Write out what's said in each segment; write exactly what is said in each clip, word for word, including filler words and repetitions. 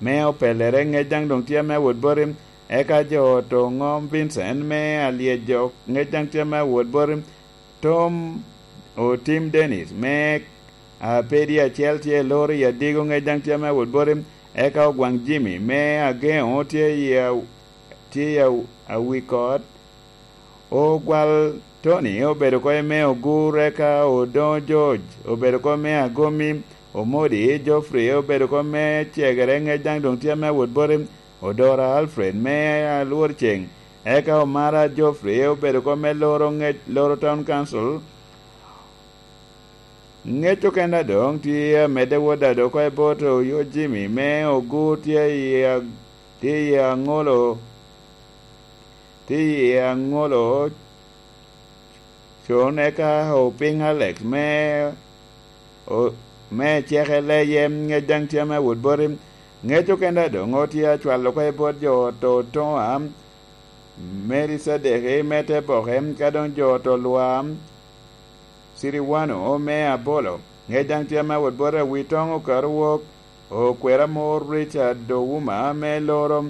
me opellere, ŋec daŋ doŋ tye ame awot boti. Eka jo oto ŋom Vincent me alyejo, ŋec daŋ tye ame awot boti. Tom Otim Dennis me Apedi acel tye i loro i Adigo, ŋec daŋ tye ame awot boti. Eka Ogwaŋ Jimmy me Ageŋo tye i a-, tye i a-, Awikot. Ogwal Tony obedo oko me Ogur, eka Odoŋo George obedo oko me Agomi, Omodi Geoffrey obedo oko me Cegere, ŋec daŋ doŋ tye ame awot boti. Odora Alfred me Alworceng, eka Omara Geoffrey obedo oko me loro ŋec, loro Town Council. Ŋec okene doŋ tye amedde wot ado oko i bot Oyo Jimmy me Ogur tye i a-, tye i aŋolo, tye i aŋolo con, eka Opiny Alex me, o-, me Cekele yem, ŋec daŋ tye ame awot boti. Ŋec okene doŋ otye acwalo oko i bot jo oto Toŋa, Mary Sadeki me Teboke, ka doŋ jo oto Lwam, Siriwano me Abolo, ŋec daŋ tye ame awot boti. Awitoŋ Okaru wok, Okwera mor Richard Ouma me loro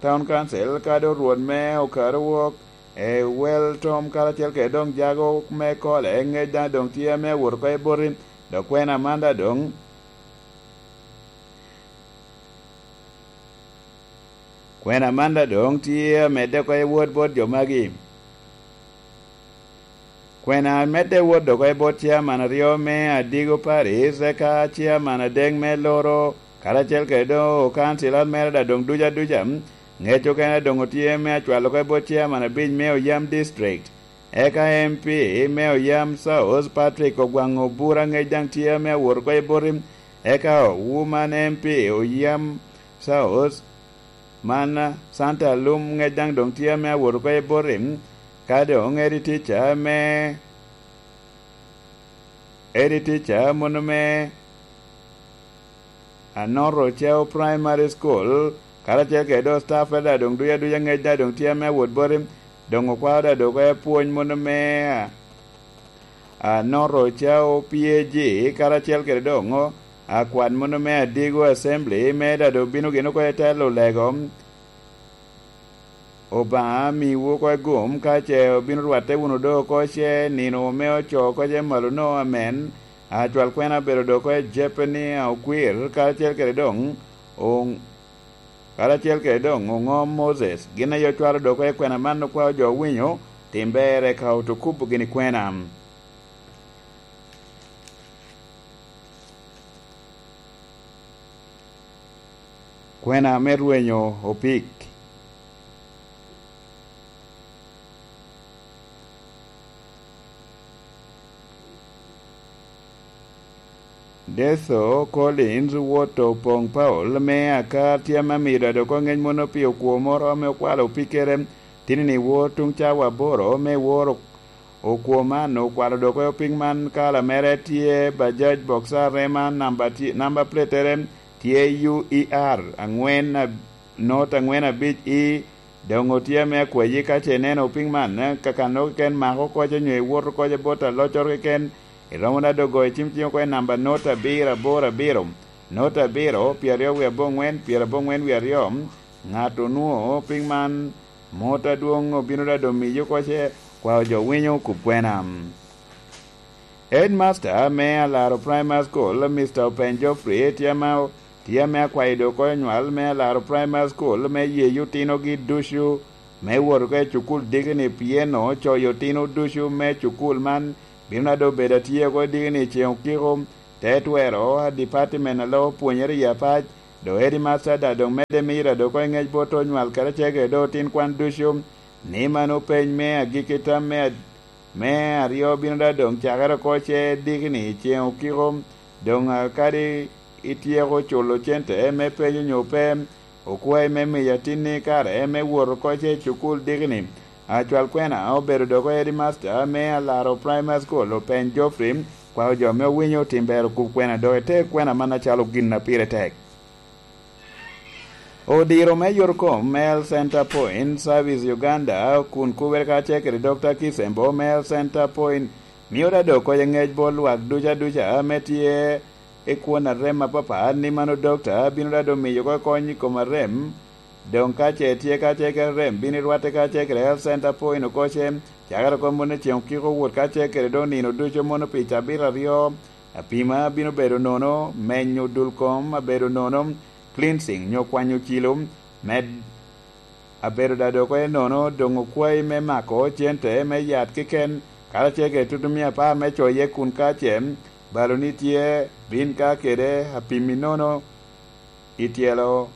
Town Council, kadi orwot me Okaru wok, Ewel Tom karacel kede doŋ Jago me Kole, ŋec daŋ doŋ tye ame awot oko i boti. Dok kwena man daŋ doŋ, kwena man daŋ doŋ tye amedde oko i wot bot jo magi. Kwena medde wot oko i bot chairman aryo me Adigo Paris, eka chairman adek me Loro, karacel kede doŋ okancilan mere daŋ doŋ duca duca. Ŋec okene doŋ otye me acwalo oko i bot chairman abic me Oyam District. Eka M P me Oyam South, Patrick Ogwaŋ Obura, ŋec daŋ tye me awot oko i boti. Eka Woman M P Oyam South, man Santa Alum, ŋec daŋ doŋ tye ame awot oko i boti, ka doŋ Eddie Teacher me, Eddie Teacher mono me Anoro Ocao Primary School, karacel kede doŋ staff daŋ doŋ duca duca, ŋec daŋ doŋ tye ame awot boti. Doŋ okwao daŋ doŋ oko i pwony mono me Anoro Ocao P A G, karacel kede doŋ akwan mono me Adigo Assembly, me daŋ doŋ bino gin oko i telo lego. Obaŋa miwu oko i gum, ka ce obino rwatte wunu doŋ oko ce nino me oco oko ce malo no, amen. Acwal kwena obedo doŋ oko i Jeppeni Okwir, karacel kede doŋ, oŋ-, karacel kede doŋ oŋom Moses. Gin aye ocwalo doŋ oko i kwena man, okwao jo owinyo, tim ber eka otukubo gini kwena. Kwena me rwenyo opik. Detho Collins wot Opoŋ Paul me Akar tye ame amiro ado oko ŋec mono pi okwo moro ame okwalo opikkere tini-ni wot tuŋ cawa aboro me woro Okwo man okwalo dok opik man, kala mere tye Bajaj Boxer Rema, namba tye, namba platere tye U E R angwen ab-, not angwen abic E. Doŋ otye ame akwayi, ka ce ineno opik man, eh, kakano keken mako koce nyo iwot koce bot aloccoro keken, iromo da dogo i cim cim oko i namba not abiro aboro abiro, not abiro, pyeraryo wie aboŋwen, pyerabongwen wie aryo. Ŋat onwoŋo opik man, mot adwoŋ obino da domiyo koce, kwao jo winyo kub kwena. Headmaster me Alaro Primary School, Mister Openy Geoffrey, tye ame, tye ame akwayo dok oko nywal me Alaro Primary School me yeyo otinogi ducu me wot oko i cukul dikini, pien ocoyo otino ducu me cukul man bino da doŋ bedo atye oko i dikini i ceŋ okiko, te twero a department a lok pwonyere i apac, do headmaster da doŋ medde mira dok oko i ŋec bot onywal kede acege do otin kwan ducu, ni mano peny me agikki tam me ad-, me aryo bino da doŋ cakere oko ce dikini i ceŋ okiko, doŋ a kadi ityeko culo cente me penyo nyo pe, okwayi me miyo atinni kare me wot oko ce i cukul dikini. Acwal kwena obedo dok headmaster me Alaro Primary School, Openy Geoffrey, kwao jo ame owinyo tim ber okub kwena dok ite kwena man acalo gin a pire tek. Odiro me yot kom me Health Center Point Service Uganda kun kubere kacel kede Doctor Kisembo me Health Center Point mio da dok koc ŋec bot lwak duca duca ame tye i kwon arem apapat, ni mano dokta bino daŋ doŋ miyo oko kony i kom arem. Doŋ ka ce tye kacel kede arem, bino i rwatte kacel kede Health Center Point oko ce, cakere oko mono i ceŋ okiko wot kacel kede doŋ nino ducu mono pi cabit aryo. Apima bino bedo nono, menyo dul kom abedo nono, cleansing nyo kwanyo cilo, med abedo daŋ dok enono, doŋ okwayi me mako cente me yat keken, karacel kede tutumia apar me coye kun ka ce baloni tye, bin ka kede apimmi nono i tyelo,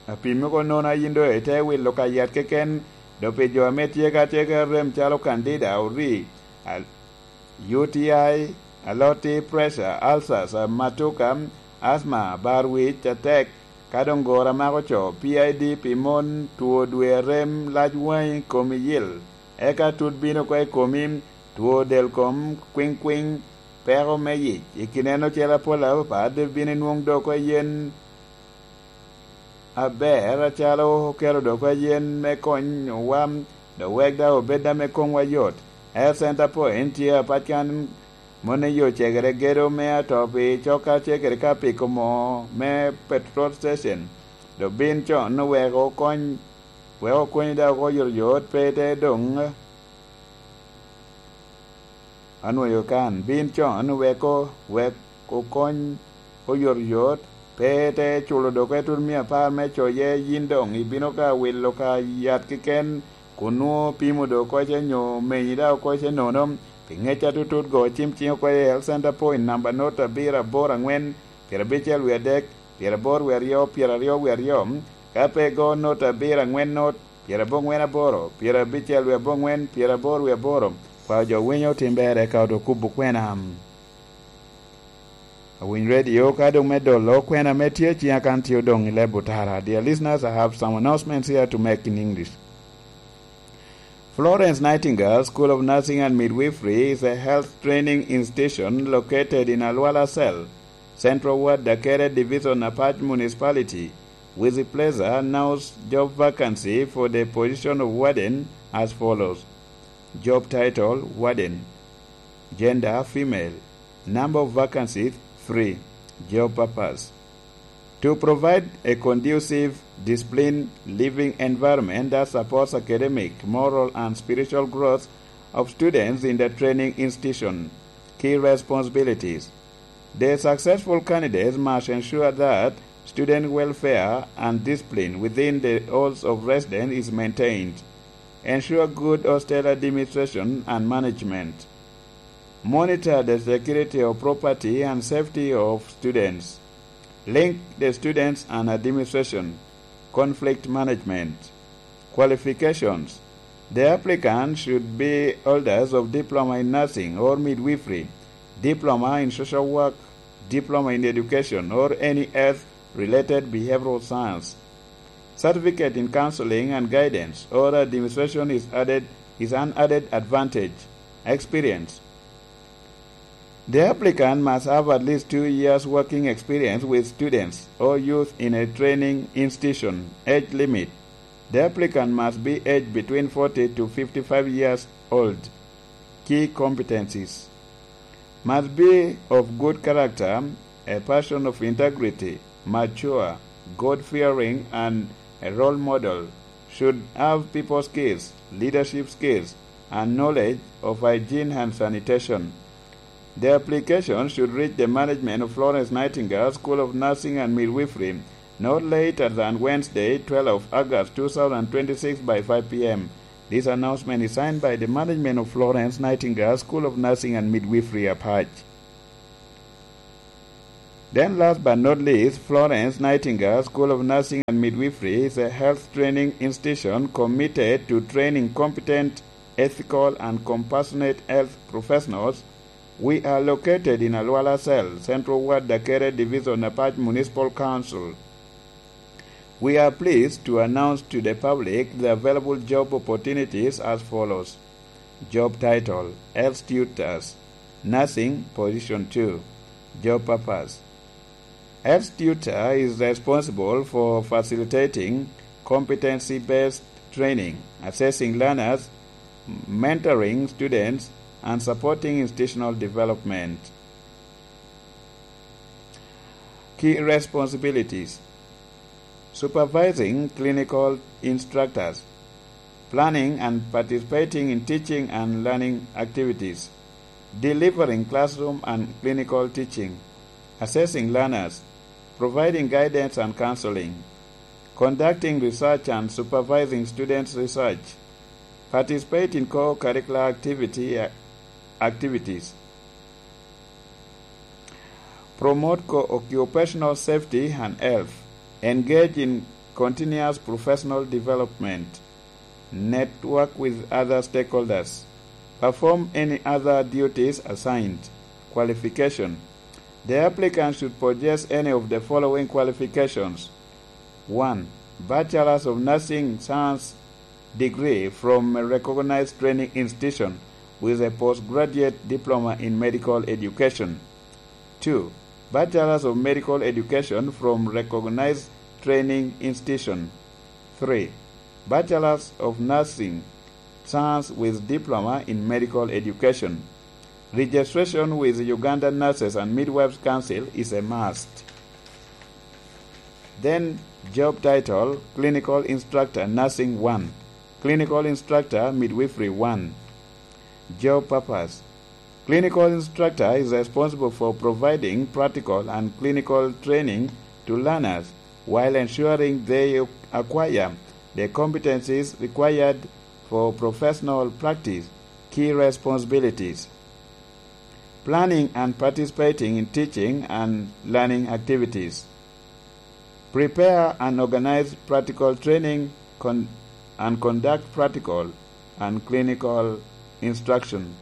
apimmi oko nono a yin doŋ ite wilo ka yat keken. Doŋ pi jo ame tye ka tye kede rem calo candida, ori, al-, U T I, aloti, pressure, ulcers, amatuka, asthma, bar wic atek, ka doŋ goro amako co, P I D pi mon, two dwe arem, lac waŋi, komi yil, eka tut bino oko i komi, two del kom, kwiŋkwiŋ, peko me yic, i kineno ocele apol apapat, bino inwoŋ doŋ oko yen aber acalo okelo doŋ oko yen me konyowa, doŋ wek daŋ obed ame koŋwa yot. Health Center Point tye apac kan, moni yo cegere gedo me atop i cok kacel kede ka piko moo me petrol station. Doŋ bin con wek okony, wek okony daŋ oko oyotoyot, pe ite doŋ anwoyo kan. Bin con weko, wek okony oyotoyot, pe ite culo doŋ oko tutumia apar me coye, yin doŋ ibino ka wilo ka yat keken, kun nwoŋo pimo doŋ oko ce nyo menyi daŋ oko ce nono. Pi ŋec atutut, go cim ciŋ oko i Health Center Point namba not abiro aboro aŋwen, pyerabicel wie adek, pyeraboro wie aryo, pyeraryo wie aryo. Ka pe igo not abiro aŋwen not, pyeraboro ŋwen aboro, pyerabicel wie aboŋwen, pyeraboro wie aboro. Kwao jo winyo otim ber eka oto kubo kwena. Awiny radio ka doŋ me dolo kwena me tye ciŋa kan tye odoŋ i leb otara. Dear listeners, I have some announcements here to make in English. Florence Nightingale School of Nursing and Midwifery is a health training institution located in Alwala Cell, Central Ward, Dakere Division, Apac Municipality. With pleasure, announce job vacancy for the position of warden as follows. Job title, warden. Gender, female. Number of vacancies, three. Job purpose. To provide a conducive, disciplined living environment that supports academic, moral, and spiritual growth of students in the training institution. Key responsibilities. The successful candidates must ensure that student welfare and discipline within the halls of residence is maintained. Ensure good hostel administration and management. Monitor the security of property and safety of students. Link the students and administration. Conflict management. Qualifications. The applicant should be holders of diploma in nursing or midwifery, diploma in social work, diploma in education, or any health-related behavioral science. Certificate in counseling and guidance or administration is added, is an added advantage. Experience. The applicant must have at least two years working experience with students or youth in a training institution. Age limit. The applicant must be aged between forty to fifty-five years old. Key competencies. Must be of good character, a person of integrity, mature, God-fearing, and a role model. Should have people skills, leadership skills, and knowledge of hygiene and sanitation. The application should reach the management of Florence Nightingale School of Nursing and Midwifery not later than Wednesday, twelfth of August two thousand twenty-six, by five p.m. This announcement is signed by the management of Florence Nightingale School of Nursing and Midwifery, Apac. Then, last but not least, Florence Nightingale School of Nursing and Midwifery is a health training institution committed to training competent, ethical, and compassionate health professionals. We are located in Alwala Cell, Central Ward, Dakere Division, Apac Municipal Council. We are pleased to announce to the public the available job opportunities as follows. Job title: Health Tutors, Nursing, Position two. Job purpose: Health tutor is responsible for facilitating competency-based training, assessing learners, mentoring students, and supporting institutional development. Key responsibilities: supervising clinical instructors, planning and participating in teaching and learning activities, delivering classroom and clinical teaching, assessing learners, providing guidance and counseling, conducting research and supervising students' research, participate in co-curricular activity, activities, promote co-, occupational safety and health, engage in continuous professional development, network with other stakeholders, perform any other duties assigned. Qualification: the applicant should possess any of the following qualifications. One, Bachelor's of Nursing Science degree from a recognized training institution with a postgraduate diploma in medical education. Two, Bachelor's of Medical Education from recognized training institution. Three, Bachelor's of Nursing Science with diploma in medical education. Registration with Uganda Nurses and Midwives Council is a must. Then, job title, Clinical Instructor, Nursing one, Clinical Instructor, Midwifery one. Job purpose: clinical instructor is responsible for providing practical and clinical training to learners while ensuring they acquire the competencies required for professional practice. Key responsibilities: planning and participating in teaching and learning activities, prepare and organize practical training con-, and conduct practical and clinical instruction,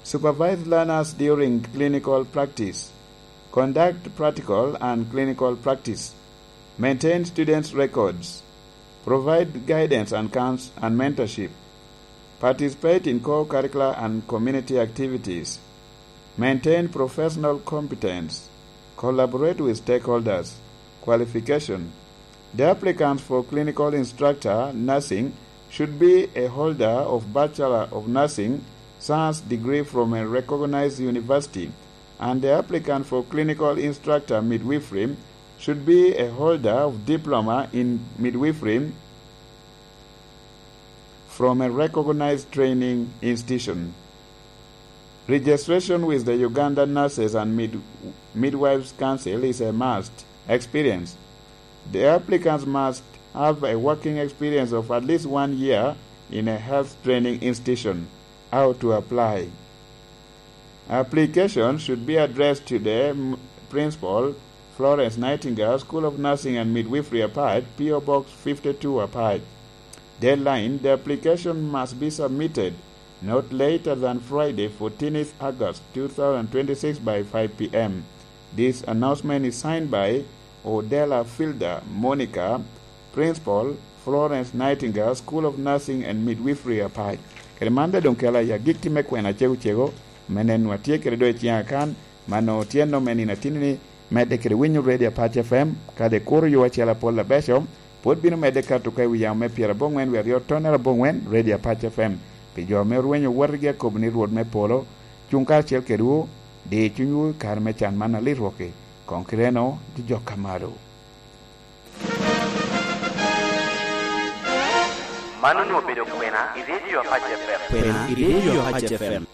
supervise learners during clinical practice, conduct practical and clinical practice, maintain students' records, provide guidance and couns-, and mentorship, participate in co-curricular and community activities, maintain professional competence, collaborate with stakeholders. Qualification: the applicant for clinical instructor nursing should be a holder of Bachelor of Nursing Science degree from a recognized university, and the applicant for clinical instructor midwifery should be a holder of diploma in midwifery from a recognized training institution. Registration with the Uganda Nurses and Mid-, Midwives Council is a must. Experience: the applicants must have a working experience of at least one year in a health training institution. How to apply? Application should be addressed to the, mm, Principal, Florence Nightingale, School of Nursing and Midwifery, Apac, P O Box fifty-two, Apac. Deadline: the application must be submitted not later than Friday, fourteenth August two thousand twenty-six, by five P M. This announcement is signed by Odela Filda Monica, Principal, Florence Nightingale School of Nursing and Midwifery, Apac. Kede man daŋ doŋ kela i agikki me kwena cego cego, me neno atye kede doŋ i ciŋa kan, mano tyen nome nino atini ni, medde kede winyo Radio Apac F M, kadi kuro yo acel apol abeco, pwod bino medde kato ka i wi yamo me pyeraboŋwen wie aryo tonnere aboŋwen, Radio Apac F M. Pi jo ame orwenyo wotigi akobo ni Rwot me polo, cuŋ karacel kedwu, di cunywu i kare me can man alit rwok-ki, koŋ kite-nu jojok ka malo. Man onwoŋo obedo kwena i Radio Apac F M. Kwena i Radio Apac F M.